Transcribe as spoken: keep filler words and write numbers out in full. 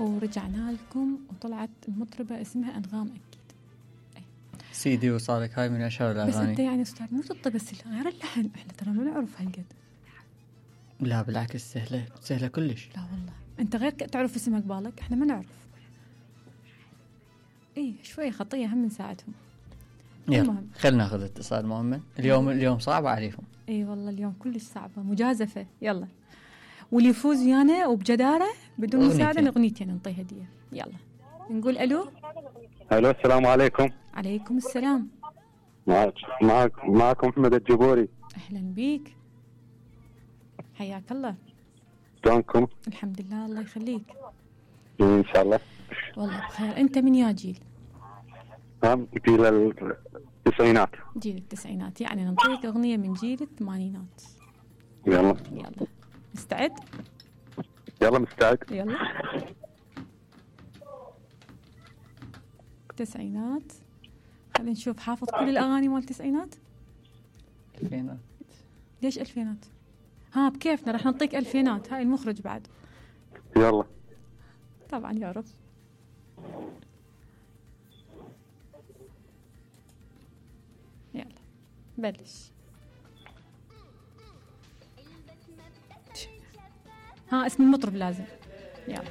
ورجعنا لكم وطلعت المطربة اسمها أنغام أكيد. أي. سيدي وصالك هاي من أشهر الأغاني. بس أنت يعني أستاذ مو تطي بس غير اللحن، إحنا ترى ما نعرف هالقد. لا بالعكس سهلة سهلة كلش. لا والله أنت غير تعرف اسمك بالك، إحنا ما نعرف. إيه شوية خطية هم نساعدهم. يلا خلنا ناخذ اتصال مؤمن. اليوم اليوم صعب عليكم. اي والله اليوم كلش صعبة مجازفة. يلا واللي يفوز ويانا وبجدارة بدون مساعدة أغنيتين نعطيه هدية. يلا نقول ألو. ألو السلام عليكم. عليكم السلام. معك معك معكم محمد الجبوري. أهلا بيك حياك الله. شلونكم؟ الحمد لله الله يخليك. إن شاء الله. والله بخير. أنت من يا جيل؟ هم جيل التسعينات. جيل التسعينات يعني نعطيك أغنية من جيل الثمانينات. يلا يلا مستعد؟ يلا مستعد. يلا التسعينات. خلينا نشوف حافظ كل الأغاني مال التسعينات؟ ألفينات. ليش ألفينات؟ ها بكيفنا رح نعطيك ألفينات. هاي المخرج بعد. يلا طبعا يعرف. يلا بلش. ها اسم المطرب لازم.